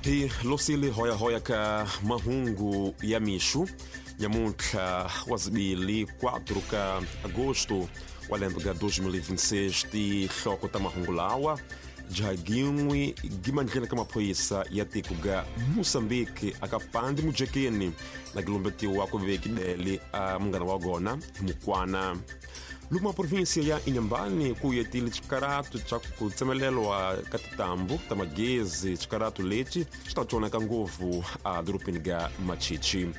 Hi losile hoyahoya ka mahungu ya mixo nyamuntlha wa zibili 4 ka agosto wa lembe ka 2026. Tihloko ta mahungu lawa: jagin'wi gimandleni ka maphorisa ya tiko ga Mozambique aka pandi mujekeni na gilombetiwa ku vekidele a munghana wa gona hi mukwana. Luma província ya Inhambane ku yetile xikaratu xa ku tsemelelwa ka tintambu ta magezi. Xikaratu lexi xi ta tsoneka ngopfu a dorobeni ga Machichi.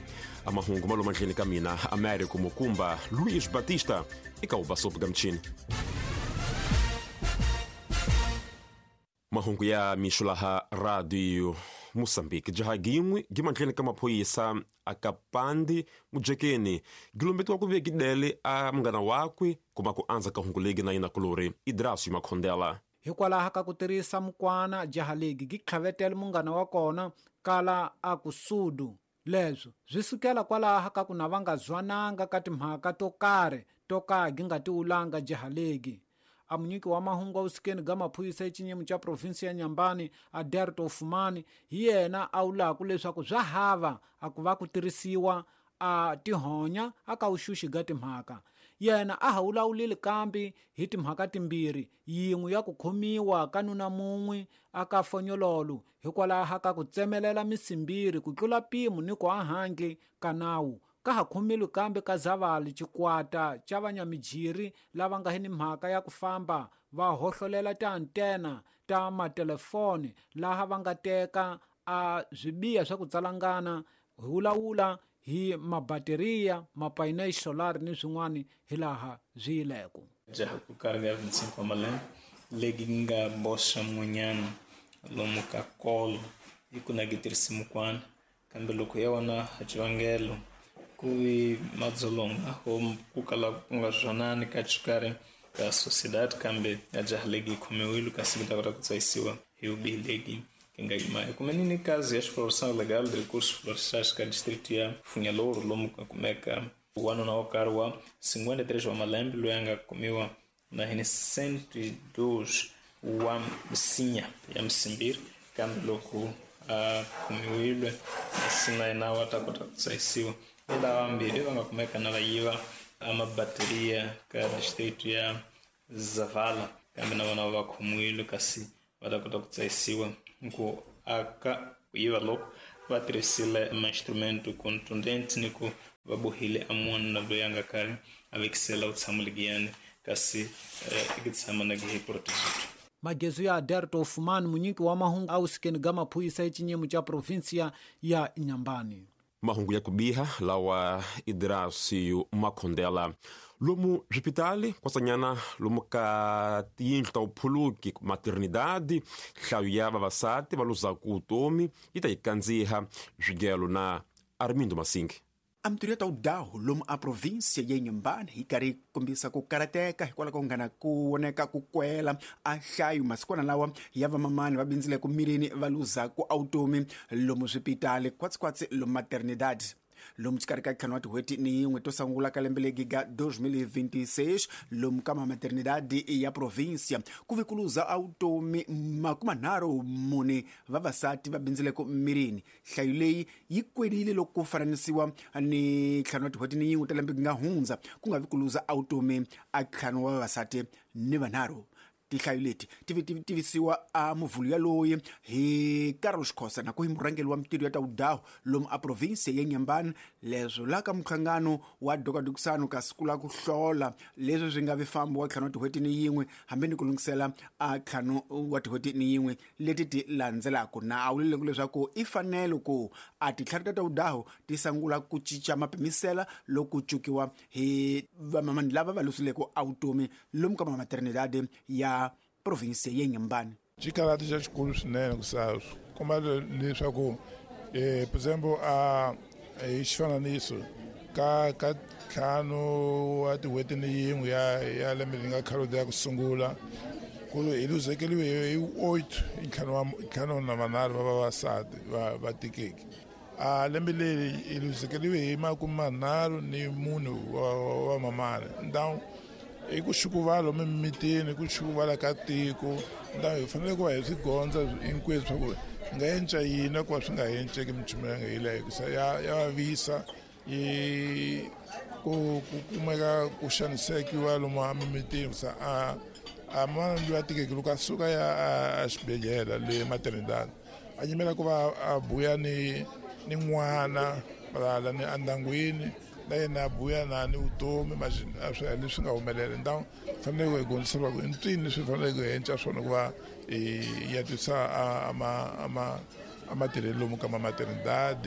A mahungu ma lomadleni ka mina Américo Mukumba Luís Batista eka ubasopo ga mchini. Mahungu ya mixo laha Radio Moçambique. Jaha gin'we gimandleni ka maphorisa aka pandi mujekeni gilombetiwa ku vekidele a munghana wakwe kuma ku andza ka hungu legi na yina kulori Idrasio Makhondela. Hikwalaho ka ku tirhisa mukwana, jaha legi gi tlhavetela munghana wa kona kala a ku sudu. Leswo swi sukela kwalaho ka ku na va nga zwananga ka timhaka to karhi to ka gi nga tiwulanga jaha legi. A munyiki wa mahungu awusikeni ga maphorisa exinyimo xa provinsi ya Nyambani Aderto Fumani hi yena a wulaku leswaku swa hava a ku va ku tirhisiwa a tihonya aka vuxuxi ga timhaka. Yena a ha wulawulile kambe hi timhaka timbirhi, yin'we ya ku khomiwa ka nuna mun'we aka fonyololo hikwalaho ka ku tsemelela misimbiri ku tlula mpimo ni ku ahandle ka nawu. Ka ha khomile kambe ka Zavali xikwata xa vanyamijiri lava nga ni mhaka ya ku famba va hohlolela tiantena ta matelefoni laha va nga teka a swibiya swa ku tsalangana hi wulawula hi mabateriya, mapayina solar ni swin'wana hilaha swi yileko. Jaha ku karhi ya 25 wa malembe legi nga boxa mun'wanyana lomu ka kolo hi ku na gi tirhisi mukwana, kambe loko ya vona xivangelo ku vi madzolonga o ku kala ku nga zwanani ka xikarhi ka sociedad, kambe ya jaha legi yi khomiwile kasi ku ta kota ku tsayisiwa hi vubihi legi yi nga yima. Hi kumenini kazi ya exploração legal de recursos florestais ka distrito ya Funhalouro lomu ka kumeka wanuna wo karhi wa 53 wa malembe loyi a nga kumiwa na hi 102 wa misinya ya misimbiri, kambe loko a khomiwile kasi na yena wa ta kota ku tsayisiwa. Ni lava vambirhi va nga kumeka na va yiva a mabateriya ka distrito ya Zavala, kambe na vona va khomiwile kasi va ta kota ku tsayisiwa. Ku aka ku yiva loko va tirhisile ma-instrumento contundente ni ku va bohile a munhu loyi a nga karhi a vekisela vutshamo legiyani kasi i tshama na gi protegido. Magezu ya Aderto Fumani, munyiki wa mahungu awusikeni ga maphorisa exinyimo xa provinsia ya Inhambane. Mahungu ya kubiha lawa Idrasio Makhondela. Lomu swipitali kwasanyana lomu ka tiyindlu ta vuphuluki maternidade, nhlayo ya vavasati va luzaku vutomi yi ta yi kandziha. Swigelo na Armindo Masingi. A mintirho ya ta wudahu lomu a província ya Inhambane yi karhi yi kombisa ku karateka hikwalaho ka ku nghana ku voneka ku kwela a nhlayo masikwana lawa ya vamamani va bindzile ku mirini va luzaku a vutomi lomu swipitali khwatsikhwatsi lomu maternidade. Lomu xikarhi ka ntlhanu wa tin'hweti ni yin'we to sungula ka lembe legi ga 2026 lomu ka maternidade ya província ku ve ku luza a vutomi 34 vavasati va bindzile ku mirini. Nhlayo leyi yi kwelile loko ku fananisiwa ni ntlhanu wa tin'hweti ni yin'we ta lembe nga hundza, ku nga vi ku luza a vutomi a ntlhanu wa vavasati ni vanharhu. Tinhlayo leti ti tivisiwa a muvhulu yaloyi hi Carlos Khosa na ku hi murhangeri wa mintirho ya ta wudahu lomu a province ya Inhambane. Leswo la ka minhlangano wa dokadokisano ka siku la ku hlola leswi swi nga vi fambo wa ntlhanu wa tin'hweti ni yin'we hambi ni ku lunghisela a ntlhanu wa tin'hweti ni yin'we leti ti landzelaka, na a vulile leswaku i fanele ku a tintlhari ta ta wudahu ti sungula ku cinca mapimisela loko ku cukiwa hi vamamani lava va lusileke a vutomi lomu ka maternidade ya province ya Inhambane. Xikarhati xa xikulu swinene ku sa komba leswaku por example a hi xifananiso ka ntlhanu wa tin'hweti ni yin'we ya lembe leri nga khale ya ku sungula ku hi luzekeriwe hi 8 ntlhanu na manharhu va vavasati va tikeke. A lembe leri hi luzekeriwe hi 34 wa mamani. Então I ku xukuvala emimitini, i ku xukuvala ka tiko. Hi fanele ku va hi swi gondza hinkwenu swa ku hi nga enca yini ku va swi nga enceki minchumu ya nga yeleyo, hikusa ya vavisa yi ku kumeka ku xanisekiwa lomu emimitini. Sa a manana loyi a tikeke loko a suka ya a xibedhlele le maternidad a yimela ku va a buya ni n'wana valala ni endyangwini na yena a buya na ni vutomi leswi nga humelela. Ndhawu fanele ku hi gondzisa ku i mpfini leswi faneleke hi enca swona ku va hi ya twisa a matirhelo lomu ka maternidad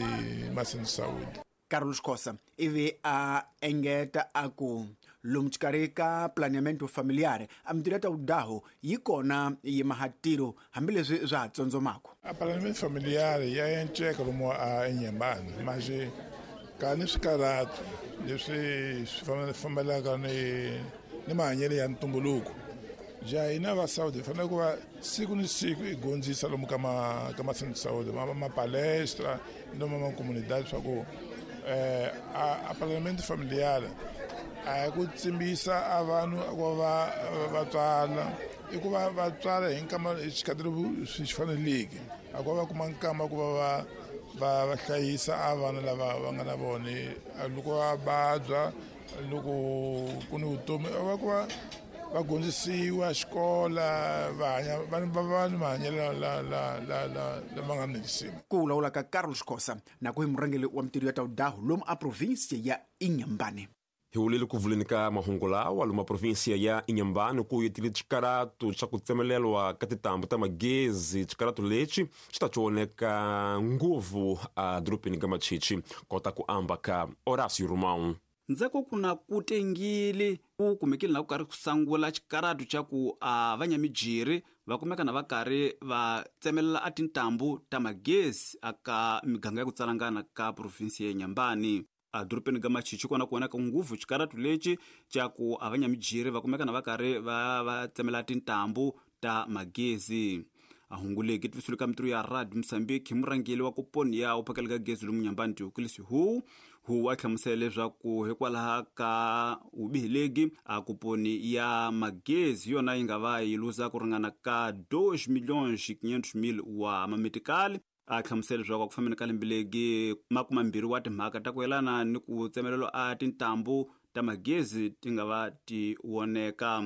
masensaudi. Carlos Khosa ivi a engeta a ku lomu xikarhi ka planeamento familiar a mintirho ya ta vudaho yi kona yi mahatiro hambileswi swa ha tsondzomako. A planeamento familiar ya enceka lomu a eNyembani manje ka ni swikarhato leswi swi fambelaka ni mahanyelo ya ntumbuluko. Ja hina va Saudi hi fanele ku va siku ni siku hi gondzisa lomu ka masensaudi ma palestra lomu ma comunidade swa ku a planeamento familiar a hi ku tsimbisa a vanhu ku va va tswala, i ku va va tswala hi nkama hi xikhathi swi faneleke, a ku va va kuma nkama ku va va hlayisa a vana lava va nga na vona loko va vabya, loko ku ni vutomi va ku va va gondzisiwa xikola, va hanya va ni mahanyelo lama nga ni xisima. Ku vulavula ka Carlos Khosa na ku hi murhangeri wa mintirho ya ta vudaho lomu a provinsia ya Inhambane. Hi wulile ku vuleni ka mahungu lawa lomu provinsia ya Inhambane ku yetile xikaratu xa ku tsemelelwa ka tintambu ta magezi. Xikaratu lexi xi ta cioneka nguvu a dorobeni ka Machichi kota ku amba ka Horácio Romão. Ndzhaku ku na ku tengile ku kumekile na ku karhi ku sangula xikaratu xa ku a vanyamijiri va kumeka na va karhi va tsemelela a tintambu ta magezi aka miganga ya ku tsalangana ka provinsi ya Inhambane. A dorobeni ka Machichi kona ku vonaka nguvu xikaratu lexi xa ku a vanyamijiri va kumeka na va karhi va tsemela tintambu ta magezi. A hunguleki tivisiwile ka mintirho ya Radio Mozambique hi murhangeri wa koponi ya u phakela ka gezi lomu Inhambane Diokilis Hu a hlamusela leswaku hikwalaho ka vubihi a koponi ya magezi yona yi nga va yi luza ku ringana ka 2.5 milhões wa mametikali. A hlamusela leswaku ku fambeni ka lembe legi 20 wa timhaka ta ku yelana ni ku tsemelelo a tintambu ta magezi ti nga va ti voneka.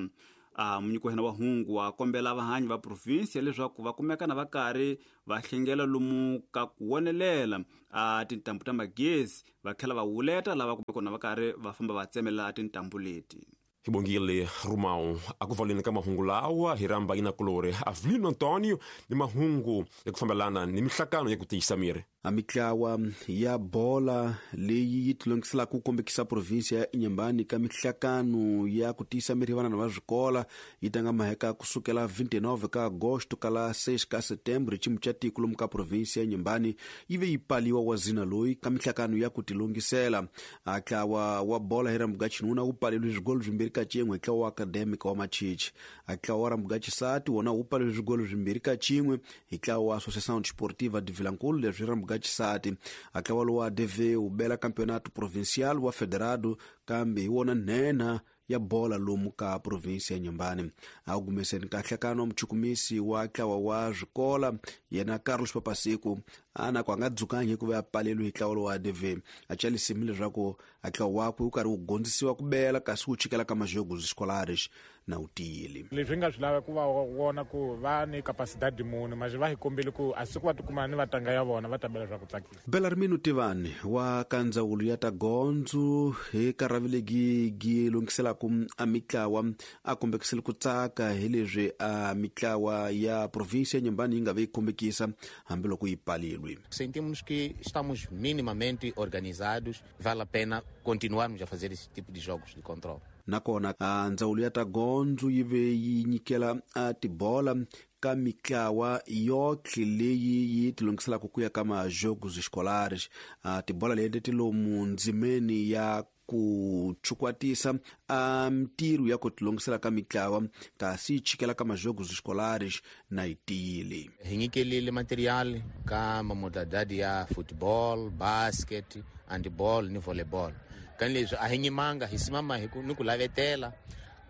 A munyiki wa hina wa hungu wa kombela vahanyi va provinsia leswaku va kumeka na va karhi va hlengela lomu ka ku wonelela a tintambu ta magezi, va tlhela va wuleta lava kumeka na va karhi va famba va tsemelela tintambu leti. Hi bongile Romão. A ku valeni ka mahungu lawa hi rhamba yinakulori Avelino Antonio ni mahungu ya ku fambelana ni mihlakano ya ku tiyisa miri. A mitlawa ya bola leyi yi tilongiselaka ku kombekisa provinsia ya Inhambane ka mihlakano ya ku tiyisa miri vana va swikola yi tanga maheka kusukela 29 ka agosto kala 6 ka setembro. Ximu xa tiko lomu ka provinsia ya Inhambane yi ve yi paliwa wa zina loyi ka mihlakano ya ku tilongisela. A ntlawa wa bola hi rambuga xinuna wu paleliwe swigolo 2-1 hi ntlawa wa academic wa Machichi. A ntlawa wa rambuga xisati wona wu paleliwe swigolo 2-1 hi ntlawa wa Associação Desportiva de Vilankulu leswi rambuga xisati. A ntlawa lowu wa ADV wu bela campeonato provincial wa federado kambe hi wona nhenha ya bola lomu ka provinsi ya Inhambane. A humeseni ka nhlakano muchukumisi wa ntlawa wa swikola yena Carlos Papasiku a na ku a nga dzukangi hikuva a paleliwe hi ntlawa lowu wa ADV. A chalisimi leswaku a ntlawa wakwe wu karhi wu gondzisiwa ku bela kasi wu chikela ka majogos escolares na wu tiyile. Leswi nga swi lava ku va vona ku va ni capacidade muni manje va hi kombile ku a siku va tikuma ni vatanga ya vona va tabela swa ku tsakisa. Belarmino Tivani wa ka ndzawulo ya ta gondzo hi karhavilegi gi lunghiselaka a mitlawa a kombekisile ku tsaka hi leswi a mitlawa ya provinsia ya Inhambane yi nga ve yi kombekisa hambiloko yi palelwe. Sentimos que estamos minimamente organizados, vale a pena continuarmos a fazer esse tipo de jogos de controle. Nakona a ndzawulo ya ta gondzo yi ve yi nyikela a tibola ka mitlawa yotlhe leyi yi tilunghiselaka ku ya ka majogos escolares. A tibola leti ti lomu ndzimeni ya ku chukwatisa a mintirho ya ku tilunghisela ka mitlawa kasi yi chikela ka majogos escolares na yi tiyile. Hi nyikelile material ka mamodalidade ya football, basket, handball ni volleyball. Ka leswi a hi nyimanga hi simama hi ku ni ku lavetela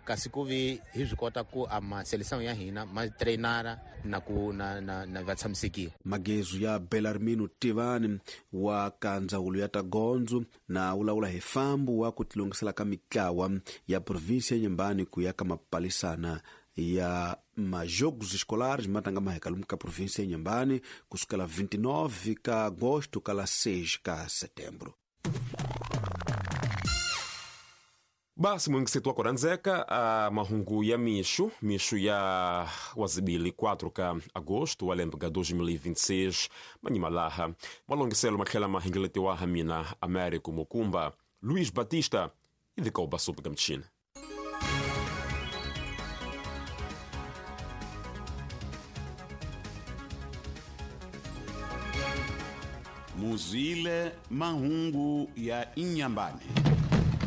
Kasi ku vi hi swi kota ku a maseleção ya hina ma treinara na ku na na na va tshamisekile. Magezu ya Belarmino Tivani wa ka ndzawulo ya tagondzo na wulawula hi fambu wa ku tilungisela ka mitlawa ya provinsi ya Inhambane ku ya ka mapalisana ya majogos escolares matanga maheka lomu ka província ya Inhambane kusukela 29 ka agosto kala 6 ka setembro. Basi mwingisetu wako ranzeka a mahungu ya mixo mixo ya wazibili 4 ka agosto wa lembe ka 2026 manyimalaha malongiselo matlhela mahingeletiwa ha mina Américo Mukumba Luís Batista idikauba supu ka mchina. Muzile mahungu ya Inhambane.